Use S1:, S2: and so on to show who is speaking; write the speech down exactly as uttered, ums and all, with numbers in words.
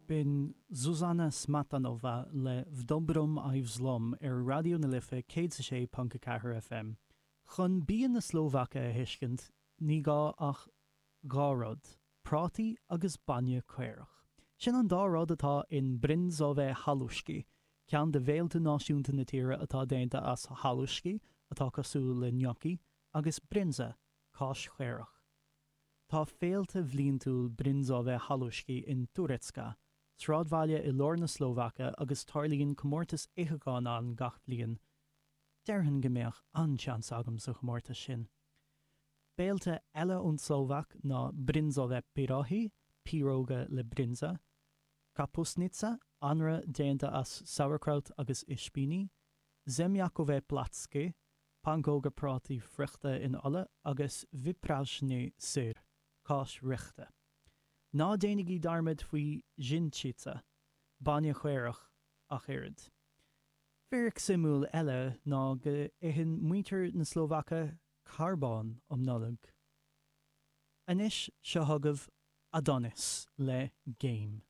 S1: B'in Zuzana Smetanova le V dobrom aj v zlom ar Raidió na Life céad a sé ponc a ceathair FM. Chun bia na Slóvaice a thuiscint, ní gá ach dhá rud, prátaí agus bainne caorach. Sin an dá rud atá in bryndzové halušky, ceann de bhéilte náisiúnta na tíre atá déanta as halušky, atá cosúil le gnocchi, agus bryndza, cáis chaorach. Tá féilte bhliantúil bryndzové halušky in Turecka, sráidbhaile i lár na Slóvaice agus tarlaíonn comórtas itheacháin ann gach bliain. Déarfainn go mbeadh an-seans agam sa chomórtas sin. Béilte eile ón tSlóvaic ná bryndzové pirohy, piaróga le bryndza, kapustnica, anraith déanta as sauerkraut agus ispíní, zemiakové placky, pancóga prátaí friochta in ola, agus vypražený syr, cáis fhriochta. Ná déanaigí dearmad faoi břynčica, bainne caorach, ach oiread. Fíric suimiúil eile ná go itheann muintir na Slóvaice carbán um Nollaig. Anois seo chugaibh Adonis le Game.